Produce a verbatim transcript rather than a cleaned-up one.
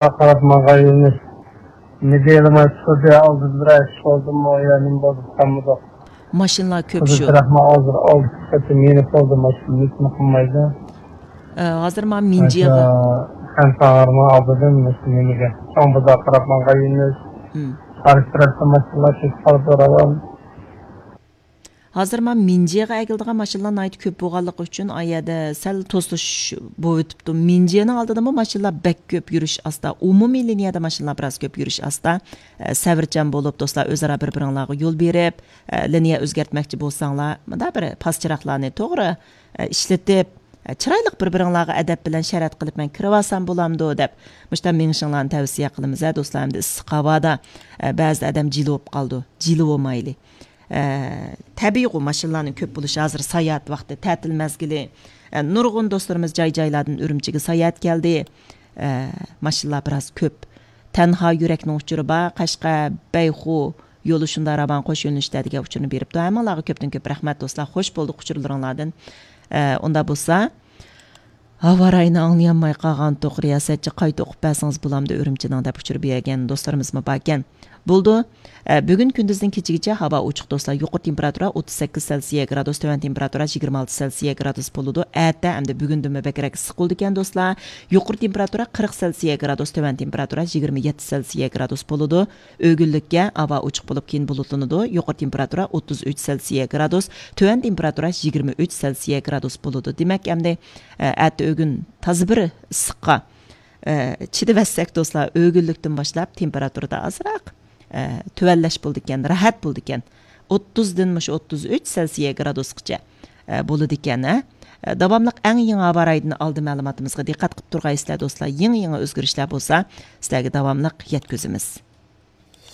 قاراپ ماڭغان يۈرمىش. مېدىيەلىماي چىقىدۇ، ئالدىدا بىر ئىش بولدىمۇ يا نېمە بولدى، قالمىدۇق. ماشىنىلار كۆپ شۇ. تەرەپمۇ ھازىر ئالدى سەتتە مېنى قالدى، ماشىنا ھېچنېمە قىلمايدۇ. ئە، ھازىر مانا مىنجىغا. خەنساغارمۇ ئالدىدىن ماشىنا نېمىگە. چوڭ بازار قاراپ ماڭغان يۈرمىش. قارشى تەرەپتە ماشىنىلار كېتىپ قالدى، راۋان. ھازىر مانا مىنجىغا ئەگىلىدىغان ماشىنىلار ناھايىتى كۆپ بولغانلىقى ئۈچۈن، ئا يەردە سەل توسۇش بولۇۋېتىپتۇ. مىنجىنىڭ ئالدىدىمۇ ماشىنىلار بەك كۆپ، يۈرۈش ئاستا. ئومۇمىي لىنىيەدە ماشىنىلار بىراز كۆپ، يۈرۈش ئاستا. ئە، سەۋرچان بولۇپ، دوستلار، ئۆزئارا بىر-بىرىڭلارغا يول بېرىپ، ئە، لىنىيە ئۆزگەرتمەكچى بولساڭلار، مۇنداق بىر پاس چىراغلارنى توغرا، ئە، ئىشلىتىپ، ئە، چىرايلىق بىر-بىرىڭلارغا ئەدەپ بىلەن شەرەت قىلىپ، مەن كىرىۋالسام بولامدۇ دەپ، مۇشۇنداق مېڭىشىڭلارنى تەۋسىيە قىلىمىز، ھە، دوستلار. ئەمدى ئىسسىق ھاۋادا، ئە، بەزىدە ئادەم جىلە بولۇپ قالىدۇ. جىلە بولمايلى. ئە، تەبىئىيغۇ، ماشىنىلارنىڭ كۆپ بولۇشى، ھازىر ساياھەت ۋاقتى، تەتىل مەزگىلى. ئە، نۇرغۇن دوستلىرىمىز جاي-جايلاردىن ئۈرۈمچىگە ساياھەتكە كەلدى. ئە، ماشىنىلار بىراز كۆپ. تەنھا يۈرەكنىڭ ئۇچۇرى بار، قەشقەر، بەيخۇ يولى شۇنداق راۋان، قوش يۆنىلىشتە دېگەن ئۇچۇرنى بېرىپتۇ. ھەممىڭلارغا كۆپتىن كۆپ رەھمەت، دوستلار. خوش بولدۇق ئۇچۇرلىرىڭلاردىن. ئە، ئۇنداق بولسا، ھاۋا رايىنى ئاڭلىيالماي قالغانتۇق، رىياسەتچى قايتا ئوقۇپ بەرسىڭىز بولامدۇ ئۈرۈمچىنىڭ دەپ ئۇچۇر بەرگەن دوستلىرىمىزمۇ باركەن. بولىدۇ. ئە، بۈگۈن كۈندۈزدىن كېچىگىچە ھاۋا ئوچۇق دوستلار. يۇقىرى تېمپېراتۇرا ئوتتۇز سەككىز سېلسىيە گرادۇس، تۆۋەن تېمپېراتۇرا يىگىرمە ئالتە سېلسىيە گرادۇس بولىدۇ. ئەتە ئەمدى بۈگۈندىنمۇ بەكرەك ئىسسىق بولىدىكەن دوستلار. يۇقىرى تېمپېراتۇرا قىرىق سېلسىيە گرادۇس، تۆۋەن تېمپېراتۇرا يىگىرمە يەتتە سېلسىيە گرادۇس بولىدۇ. ئۆگۈنلۈككە، ھاۋا ئوچۇق بولۇپ، كېيىن بۇلۇتلىنىدۇ. يۇقىرى تېمپېراتۇرا ئوتتۇز ئۈچ سېلسىيە گرادۇس، تۆۋەن تېمپېراتۇرا يىگىرمە ئۈچ سېلسىيە گرادۇس بولىدۇ. دېمەك، ئەمدى، ئە، ئەتە ئۆگۈن تازا بىر ئىسسىققا، ئە، چىدىۋەتسەك، دوستلار، ئۆگۈنلۈكتىن باشلاپ تېمپېراتۇرىدا ئازراق، ئە، تۆۋەنلەش بولىدىكەن، راھەت بولىدىكەن. ئوتتۇزدىن مۇشۇ ئوتتۇز ئۈچ سېلسىيە گرادۇسقىچە، ئە، بولىدىكەن، ھە. ئە، داۋاملىق ئەڭ يېڭى ھاۋا رايىدىن ئالدى مەلۇماتىمىزغا دىققەت قىلىپ تۇرغايسىلەر، دوستلار. يېڭى، يېڭى ئۆزگىرىشلەر بولسا، سىلەرگە داۋاملىق يەتكۈزىمىز.